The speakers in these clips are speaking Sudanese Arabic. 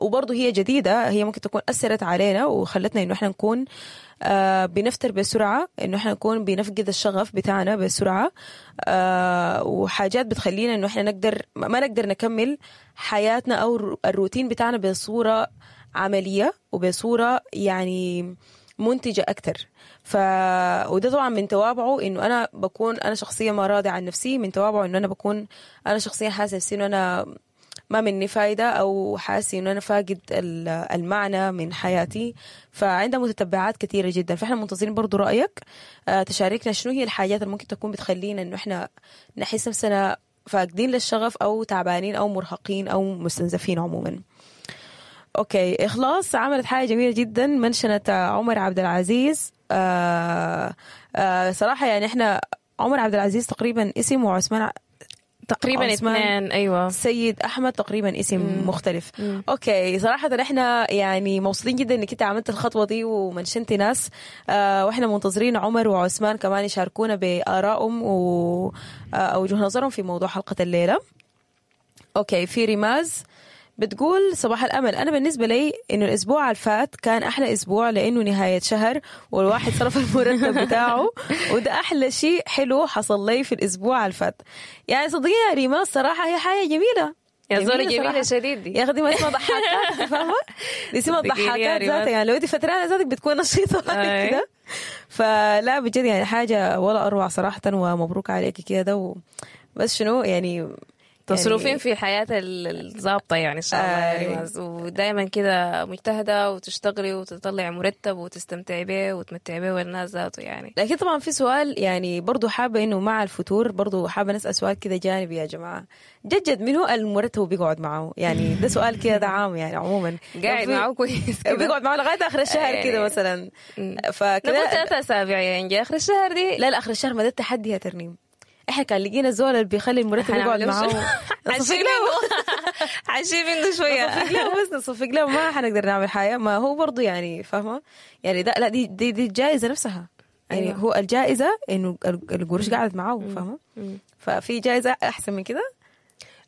وبرضه هي جديدة، هي ممكن تكون أثرت علينا وخلتنا إنه إحنا نكون بنفتر بسرعة، إنه إحنا نكون بنفقد الشغف بتاعنا بسرعة، وحاجات بتخلينا إنه إحنا نقدر ما نقدر نكمل حياتنا أو الروتين بتاعنا بصورة عملية وبصورة يعني منتجة أكتر. وده طبعا من توابعه إنه أنا بكون أنا شخصيا ما راضي عن نفسي، من توابعه إنه أنا بكون أنا شخصيا حاسة نفسي إنه أنا ما مني فايدة، أو حاسة إنه أنا فاقد المعنى من حياتي. فعندها متتبعات كثيرة جدا، فإحنا منتظرين برضو رأيك، تشاركنا شنو هي الحاجات اللي ممكن تكون بتخلينا إنه إحنا نحس نفسنا فاقدين للشغف أو تعبانين أو مرهقين أو مستنزفين عموما. okay، إخلاص عملت حاجة جميلة جدا، منشنت عمر عبد العزيز. صراحة يعني إحنا عمر عبد العزيز تقريبا اسم، وعثمان تقريبا عثمان اثنين. ايوه. سيد احمد تقريبا اسم مختلف. okay، صراحة احنا يعني مبسوطين جدا انك انت عملت الخطوة دي ومنشنتي ناس، واحنا منتظرين عمر وعثمان كمان يشاركونا بارائهم و وجهه نظرهم في موضوع حلقة الليله. okay، في ريماز بتقول: صباح الامل، انا بالنسبة لي انه الاسبوع الفات كان احلى اسبوع لانه نهاية شهر والواحد صرف المرتب بتاعه، وده احلى شيء حلو حصل لي في الاسبوع الفات. يعني صدقيني يا ريماز، صراحة هي حاجة جميله. يا زولة جميلة صراحة. شديد دي. يا اخي دي ما اسمها ضحاكات، فاهمه؟ دي اسمها صدقيني يا ضحاكات ريماز. ذاتها، يعني لو انت فترانه ذاتك بتكون نشيطه كده. فلا بجد يعني حاجة ولا اروع صراحه، ومبروك عليك كده بس شنو يعني تصرفين يعني في الحياة الظابطة يعني إن شاء الله يا ريماز، ودائما كده مجتهدة وتشتغلي وتطلعي مرتب وتستمتعي به وتمتعي به والناس ذاته يعني. لكن طبعا في سؤال، يعني برضو حابة انه مع الفتور برضو حابة نسأل سؤال كده جانبي، يا جماعة، جد جد منو المرتب بيقعد معه؟ يعني ده سؤال كده، ده عام يعني عموما. قاعد معه كويس كده. بيقعد معه لغاية آخر الشهر كده مثلا. فكده نقول 3 أسابيع يعني آخر الشهر دي. لا لا، آخر الشهر ما ده التحدي يا ترنيم. احنا كان لقينا الزول اللي بيخلي المرتب يقعد حنعمل معه شنو؟ نصفق له. حنشيل منه شوية. نصفق له، بس نصفق له، ما حنقدر نعمل حاجة. ما هو برضو يعني فاهمة يعني ده لا دي الجائزة نفسها يعني. هو الجائزة انه القروش قعدت معاه، فاهمة؟ ففي جائزة احسن من كده؟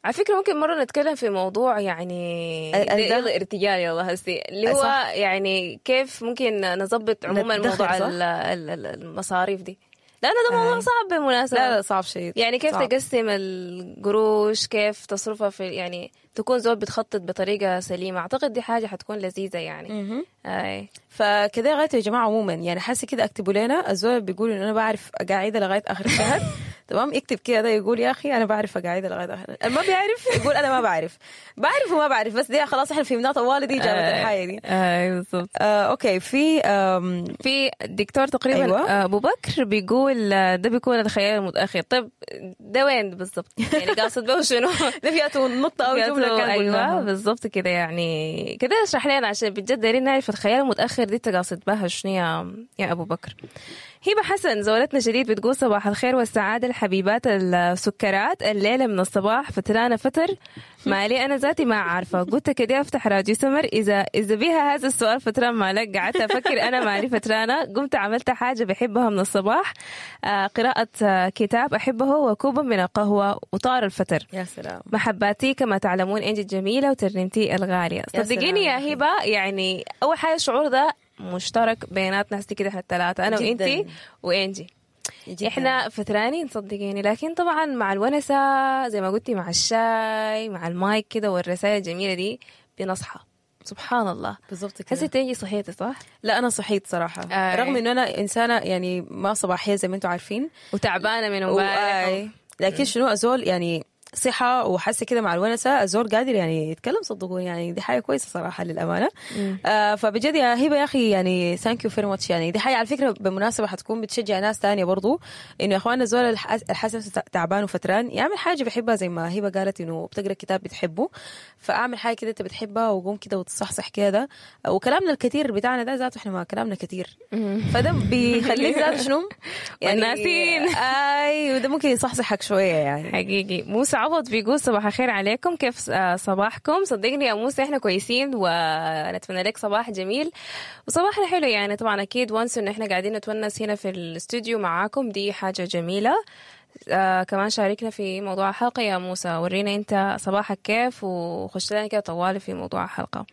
على فكرة ممكن مرة نتكلم في موضوع يعني ده يلا ارتجال، يلا هسي اللي هو يعني كيف ممكن نظبط عموما ندخر، موضوع صح؟ المصاريف دي، لأنه ده موضوع صعب بالمناسبة. لا لا، صعب شديد. يعني كيف صعب. تقسم القروش، كيف تصرفها في يعني تكون زول بتخطط بطريقة سليمة. أعتقد دي حاجة حتكون لذيذة يعني. مهم. أي. فكده غايته يا جماعه، عموما يعني حاسه كده اكتبوا لنا، الزول اللي بيقول انه انا بعرف قاعدة لغاية اخر الشهر، تمام، يكتب كده، ده يقول يا اخي انا بعرف قاعدة لغاية اخر، ما بيعرف يقول انا ما بعرف، بعرف وما بعرف، بس دي خلاص احنا فهمناها طوالي، دي اجابه الحاجة دي. اي بالضبط. Okay، في في دكتور تقريبا ابو بكر بيقول ده بيكون الخيال المتاخر. طيب ده وين بالضبط؟ يعني قاصد به شنو؟ ده فيها نقطة او جملة كان ايوه. قلناها. بالضبط كده، يعني كده اشرح لنا عشان بجد دايرين نعرف الخيال المتاخر دي انت قاصد بها شنو يا ابو بكر. هبه حسن زولتنا شديد بتقول: صباح الخير والسعادة الحبيبات السكرات، الليلة من الصباح فترانه فتر، مالي انا ذاتي ما عارفه، قلت كده افتح راديو سمر اذا بها هذا السؤال: فتران مالك؟ قعدت افكر انا مالي فترانه، قمت عملت حاجة بحبها من الصباح، قراءة كتاب احبه وكوبا من القهوه، وطار الفتر. يا سلام. محباتي كما تعلمون، انجي الجميلة وترنيمتي الغاليه. يا صدقيني يا سلام يا هبه، يعني اول حاجة الشعور ده مشترك بيناتنا هسي كده احنا الثلاثه، انا جداً. وانتي وانجي. جداً. احنا فترانين صدقيني، لكن طبعا مع الونسه زي ما قلتي، مع الشاي، مع المايك كده والرسائل الجميلة دي بنصحى، سبحان الله. بالضبط كده. هسي تيجي صحيتي صح؟ لا، انا صحيت صراحه. رغم انه انا انسانه يعني ما صباحية زي ما انتم عارفين. وتعبانه من امبارح. لكن شنو، ازول يعني صحة وحاسة كده مع الونسة الزول قادر يعني يتكلم، صدقوني، يعني دي حاجة كويسة صراحة للأمانة. فبجد يا هبة يا أخي يعني thank you very much. يعني دي حاجة على فكرة بالمناسبة حتكون بتشجع ناس تانية برضو، إنه يا إخواننا الزول الحاسس نفسه تعبان وفتران يعمل حاجة بيحبها، زي ما هبة قالت إنه بتقرأ كتاب بتحبه، فأعمل حاجة كده أنت بتحبها وقوم كده وتصحصح كده. وكلامنا الكثير بتاعنا ده ذاته، إحنا ما كلامنا كثير، فده بيخليك ذاته شنو يعني والناسين. اي، وده ممكن يصحصحك شوية يعني. حقيقي. موسى عوض بيقول: صباح الخير عليكم، كيف صباحكم؟ صدقني يا موسى احنا كويسين ونتمنى لك صباح جميل وصباحنا حلو. يعني طبعا اكيد once انه احنا قاعدين نتونس هنا في الاستوديو معاكم، دي حاجة جميلة. كمان شاركنا في موضوع الحلقة يا موسى، ورينا انت صباحك كيف وخش لنا كده طوالي في موضوع الحلقة.